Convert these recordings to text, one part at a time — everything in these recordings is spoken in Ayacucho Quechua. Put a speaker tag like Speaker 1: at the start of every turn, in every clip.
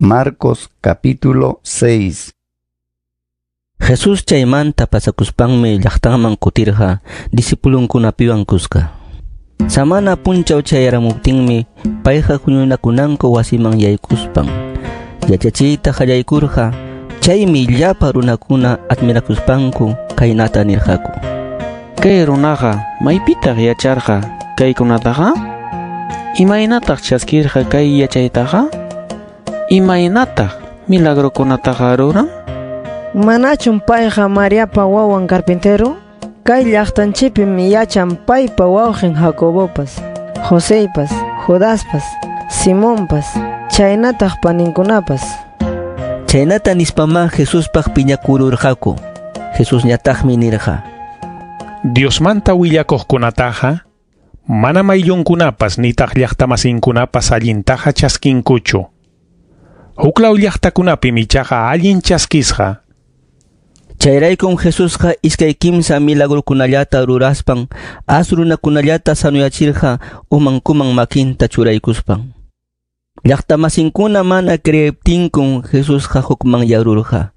Speaker 1: Marcos capítulo 6.
Speaker 2: Jesús chaymanta pasakuspanmi llaqtanman kutirqa discipulunkunapiwan kuska. Samana punchaw chayaramuptinmi payqa huñunakunanku wasiman yaykuspan yachachiyta qallaykurqa. Chaymi llapa runakuna admirakuspanku kaynata nirqaku:
Speaker 3: Kay runaqa maypitaq yacharqa kaykunataqa? Imaynataq chaskirqa kay yachaytaqa? Imaynataq milagrokunataqa ruran?
Speaker 4: Manachum payqa Mariapa wawan carpintero? Kay llaqtanchikpim yachan paypa wawqin Jacobopas, Joseypas, Judaspas, Simonpas, chaynataq paninkunapas.
Speaker 2: Chaynata nispamá Jesuspaq piñakururqaku. Jesusñataqmi nirqa:
Speaker 5: Diosmanta willakuqkunataqa manam ayllunkunapas nitaq llaqtamasinkunapas allintaqa chaskinkuchu. Huklaw llaqtakunapim ichaqa allin chaskisqa.
Speaker 2: Chayraykum Jesusqa iskay kimsa milagrukunallata ruraspan as runakunallata sanuyachirqa umankuman makinta churaykuspan. Llaqtamasinkuna mana creeptinkum Jesusqa hukmanyarurqa.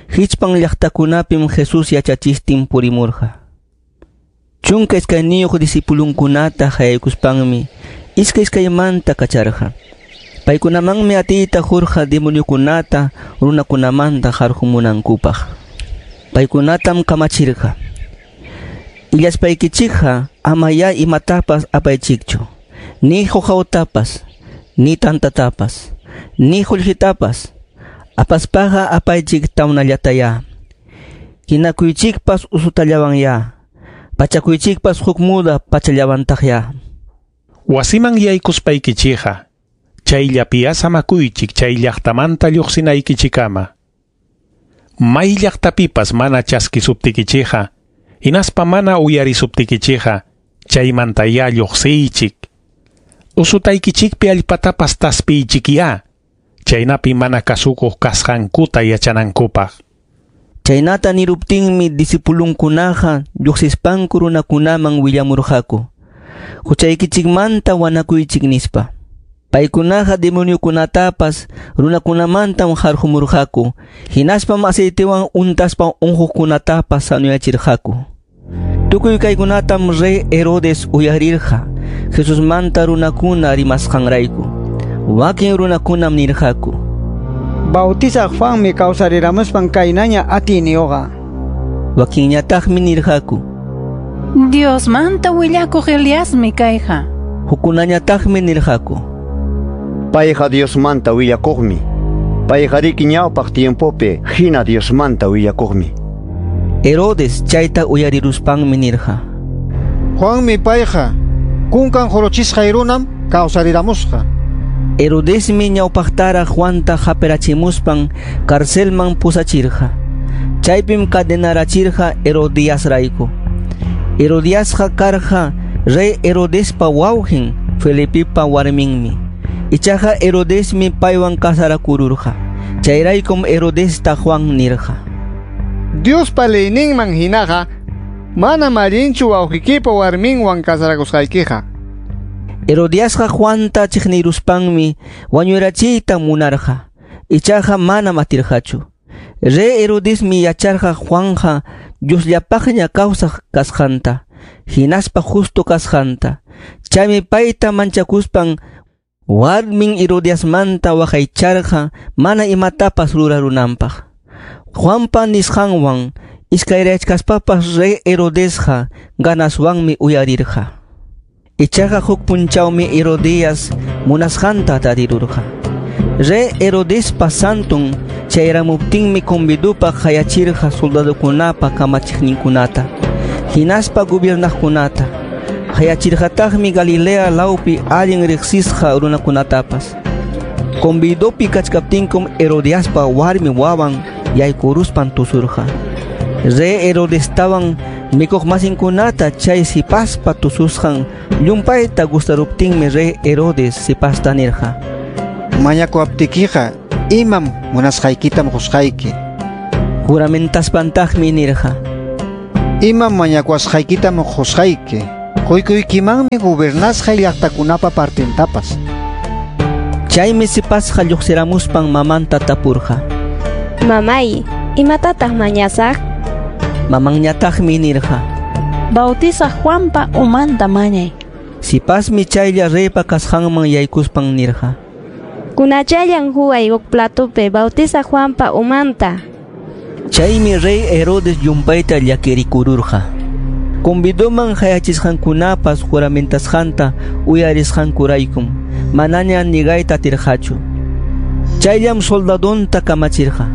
Speaker 2: Hichpan llaqtakunapim Jesús yachachistin purimurqa. 12 discipulunkunata hayaykuspanmi iskay iskaymanta kacharqa. Paykunamanmi atiyta qurqa demoniokunata runakunamanta qarqumunankupaq. Paykunatam kamachirqa: Illaspaykichikqa amayá imatapas apaychikchu, ni quqawtapas, ni tantatapas, ni qullqitapas. Apaspaqa apaychik tawnallatayá. Hinakuychikpas usutallawanyá. Pachakuychikpas huk muda pachallawantaqyá.
Speaker 5: Wasiman yaykuspaykichikqa chayllapiya samakuychik chay llaqtamanta lluqsinaykichikama. May llaqtapipas mana chaskisuptikichikqa, hinaspa mana uyarisuptikichikqa, chaymantayá lluqsiychik. Usutaykichikpi allpatapas taspiychikyá, chaynapi mana kasukuq kasqankuta yachanankupaq.
Speaker 2: Chaynata niruptinmi discipulunkunaqa lluqsispanku runakunaman willamurqaku: Huchaykichikmanta wanakuychik nispa. Paykunaqa demoniokunatapas runakunamantam qarqumurqaku, hinaspam aceitewan untaspa unquqkunatapas sanuyachirqaku. Tukuy kaykunatam rey Herodes uyarirqa Jesusmanta runakuna rimasqanrayku. Wakin runakunam nirqaku:
Speaker 6: Bautizaq Juanmi kawsariramuspan kaynaña atiyniyuqa.
Speaker 2: Wakinñataqmi nirqaku:
Speaker 7: Diosmanta willakuq Eliasmi kayqa.
Speaker 2: Hukkunañataqmi nirqaku:
Speaker 8: Payqa Diosmanta willakuqmi. Payqariki ñawpaq tiempopi hina Diosmanta willakuqmi.
Speaker 2: Herodes chayta uyariruspanmi nirqa:
Speaker 6: Juanmi payqa kunkan jurochisqay runam kawsariramusqa.
Speaker 2: Herodesmi ñawpaqtaraq Juanta hapirachimuspan carcelman pusachirqa. Chaypim cadenarachirqa Herodiasrayku. Herodiasqa karqa rey Herodespa wawqin Felipepa warminmi. Ichaqa Herodesmi paywan casarakururqa. Chayraykum Herodesta Juan nirqa:
Speaker 6: Diospa leyninman hinaqa manam allinchu wawqikipa warminwan casarakusqaykiqa.
Speaker 2: Herodiasqa Juanta chiqniruspanmi wañurachiyta munarqa. Ichaqa manam atirqachu. Rey Herodesmi yacharqa Juanja Diosllapaqña kawsaq kasqanta, hinaspa justo kasqanta. Chaymi payta manchakuspan warmin Herodiasmanta waqaycharqa mana imatapas rurarunanpaq. Juanpa nisqanwan iskayrachkaspapas rey Herodesqa ganaswanmi uyarirqa. Ichaqa huk punchawmi Herodias munasqanta tarirurqa. Rey Herodespa santun chayramuptinmi convidupaq qayachirqa soldadokunapa kamachiqninkunata, hinaspa gobiernaqkunata. Qayachirqataqmi Galilea lawpi allin riqsisqa runakunatapas. Convidopi kachkaptinkum Herodiaspa warmi wawan yaykuruspan tusurqa. Rey Herodestawan mikuq masinkunata chay sipaspa tususqan llumpayta gustaruptinmi rey Herodes sipasta nirqa:
Speaker 6: Mañakuwaptikiqa imam munasqaykitam qusqayki.
Speaker 2: Juramentaspan-taqmi nirqa:
Speaker 6: Imam mañakuwasqaykitam qusqayki. Quykuykimanmi gobernasqay llaqtakunapa partintapas.
Speaker 2: Chaymi sipasqa lluqsiramuspan mamanta tapurqa.
Speaker 9: Mamay, imatataq mañasaq?
Speaker 2: Mamanñataqmi nirqa.
Speaker 7: Bautizaq Juanpa umanta mañay.
Speaker 2: Sipasmi chaylla reypa kasqanman yaykuspan nirqa.
Speaker 9: Kunachallan huway huk platopi Bautizaq Juanpa umanta.
Speaker 2: Chaymi rey Herodes llumpayta llakirikururqa. Convidoman hayachisqankunapas juramentasqanta uyarisqankuraykum manaña nigayta atirqachu. Chayllam soldadonta kamachirqa.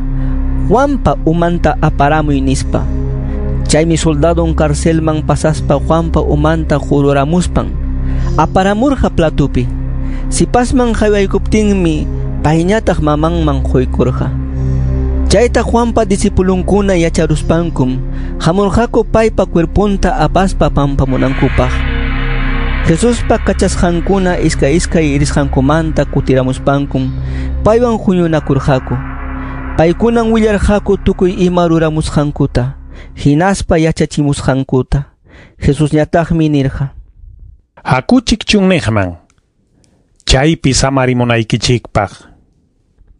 Speaker 2: Juanpa umanta aparamuy nispa. Chaymi soldadon carcelman pasaspa Juanpa umanta jururamuspan aparamurqa platopi. Sipasman haywaykuptinmi payñataq mamanman quykurqa. Chayta Juanpa disipulunkuna yacharuspankum hamurqaku paypa cuerponta apaspa pampamunankupaq. Jesuspa kachasqankuna iskay iskay risqankumanta kutiramuspankum paywan huñunakurqaku. Paykunan willarqaku tukuy ima ruramusqankuta, hinaspa yachachimusqankuta. Jesusñataqmi nirqa.
Speaker 5: Hakuchik chunniqman. Chaypi samarimunaykichikpaq.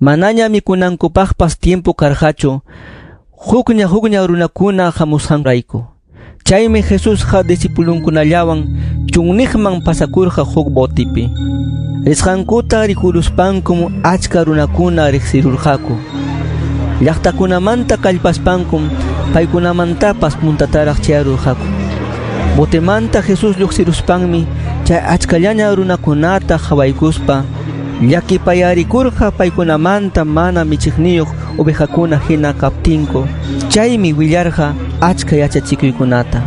Speaker 2: Manaña mikunankupaqpas tiempo karqachu, hukña hukña runakuna hamusqanrayku. Chaymi Jesusqa disipulunkunallawan chunniqman pasakurqa huk botipi. Risqankuta rikuruspankum achka runakuna riqsirurqaku. Llaqtakunamanta kallpaspankum paykunamantapas puntataraq chayarurqaku. Botemanta Jesús lluqsiruspanmi chay achkallaña runakunata qhawaykuspa llakipayarikurqa paykunamanta mana michiqniyuq ovejakuna hina kaptinku. Chaymi willarqa achka yachachikuykunata.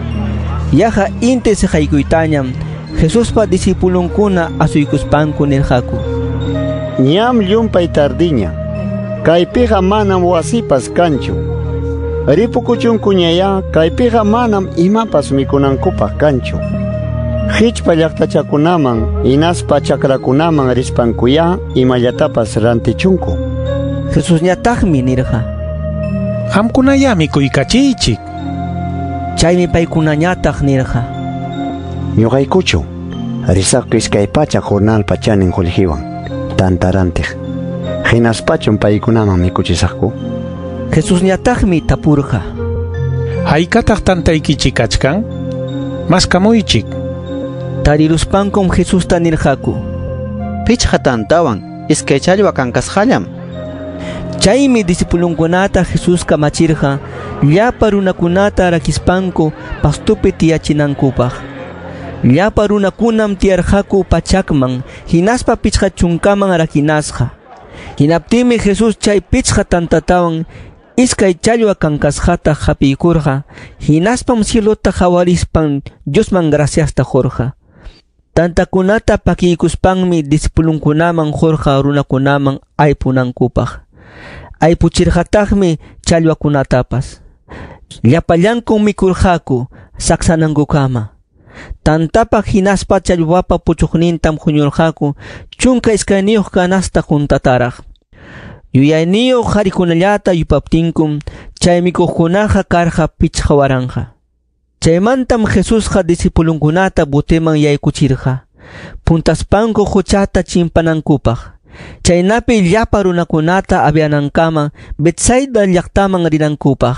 Speaker 2: Yaqa inti siqaykuytañam Jesuspa disipulunkuna asuykuspanku nirqaku.
Speaker 8: Ñam llumpay tardiña. Kaypiqa manam wasipas kanchu. Ripukuchunkuñaya kaypiqa manam imapas mikunankupaq kanchu. Hichpa llaqtachakunaman hinaspa chakrakunaman rispankuya imallatapas rantichunku.
Speaker 2: Jesusñataqmi nirqa.
Speaker 5: Qamkunaya mikuykachiychik.
Speaker 2: Chaymi paykunañataq nirqa.
Speaker 8: Ñuqaykuchu risaqku iskay pachak jornalpa chanin qullqiwan tantarantiq. Hinaspachum paykunaman mikuchisaqku.
Speaker 2: Jesusñataqmi tapurqa.
Speaker 5: Haykataq tantaykichik kachkan? Maskamuychik.
Speaker 2: Tariruspankum Jesusta nirqaku.
Speaker 10: Pichqa tantawan iskay challwa kankasqallam.
Speaker 2: Chaymi disipulunkunata Jesús kamachirqa llapa runakunata rakispanku pastupi tiyachinankupaq. Llapa runakunam tiyarqaku pachakman hinaspa pichqa chunkaman rakinasqa. Hinaptinmi Jesús chay pichqa tantatawan iskay challwa kankasqata hapiykurqa, hinaspam cielota qawarispan Diosman graciasta qurqa. Tantakunata pakiykuspanmi disipulunkunaman qurqa runakunaman aypunankupaq. Aypuchirqataqmi challwakunatapas. Llapallankum mikurqaku saksanankukama. Tantapa hinaspa challwapa puchuqnintam huñurqaku 12 canasta juntataraq. Yuyayniyuq qharikunallata yupaptinkum chay mikuqkunaqa karqa 5000. Chaymantam Jesusqa disipulunkunata boteman yaykuchirqa, puntaspanku quchata chimpanankupaq. Chaynapi llapa runakunata avianankama Betsaida llaqtaman rinankupaq.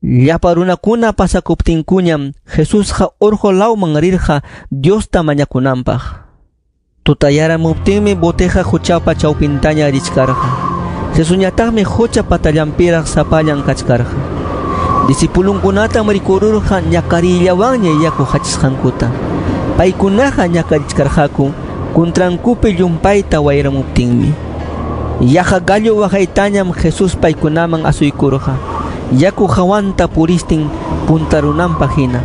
Speaker 2: Llapa runakuna pasakuptinkuñam Jesusqa urqu lawman rirqa Diosta mañakunanpaq. Tutayaramuptinmi boteqa quchapa chawpintaña richkarqa. Jesusñataqmi qucha patallanpiraq sapallan kachkarqa. Disipulunkunatam rikururqa ñakarillawanña yaku hachisqankuta. Paykunaqa ñakarichkarqaku kuntrankupi llumpayta wayramuptinmi. Yaqa gallo waqaytañam Jesús paykunaman asuykurqa. Yaku hawanta puristin puntarunanpaq hina.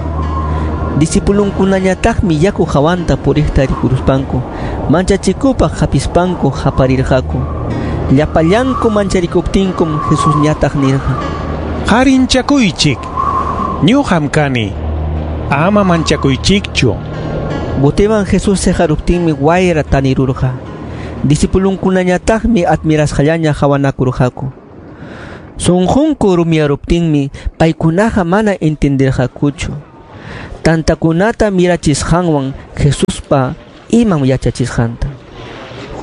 Speaker 2: Disipulunkunañataqmi yaku hawanta puriqta rikuruspanku manchachikupaq hapispanku haparirqaku. Llapallanku mancharikuptinkum Jesusñataq nirqa.
Speaker 5: Qarinchakuychik. Ñuqam kani. Ama manchakuychikchu.
Speaker 2: Boteman Jesús seqaruptinmi wayra tanirurqa. Disipulunkunañataqmi admirasqallaña hawanakurqaku. Sunqunku rumiyaruptinmi paykunaqa mana entendirqakuchu. Tantakunata mirachisqanwan Jesuspa imam yachachisqanta.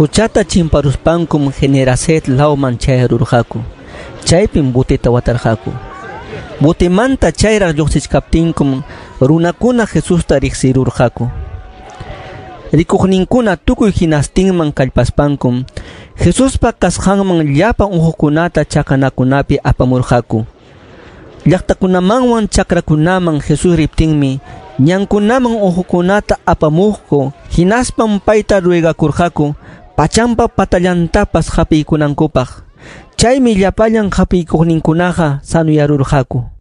Speaker 2: Huchata chimparuspankum Genesaret lawman chayarurqaku. Chaypim boteta watarqaku. Botemanta chayraq lluqsichkaptinkum runakuna Jesusta riqsirurqaku. Rikuqninkuna tukuy hinastinman kallpaspankum Jesuspa kasqanman llapa unquqkunata chakanakunapi apamurqaku. Llaqtakunamanwan chakrakunaman Jesús riptinmi ñankunaman unquqkunata apamuqku, hinaspam payta ruegakurqaku pachampa patallantapas hapiykunankupaq. Chaymi llapallan hapiykuqninkunaqa sanuyarurqaku.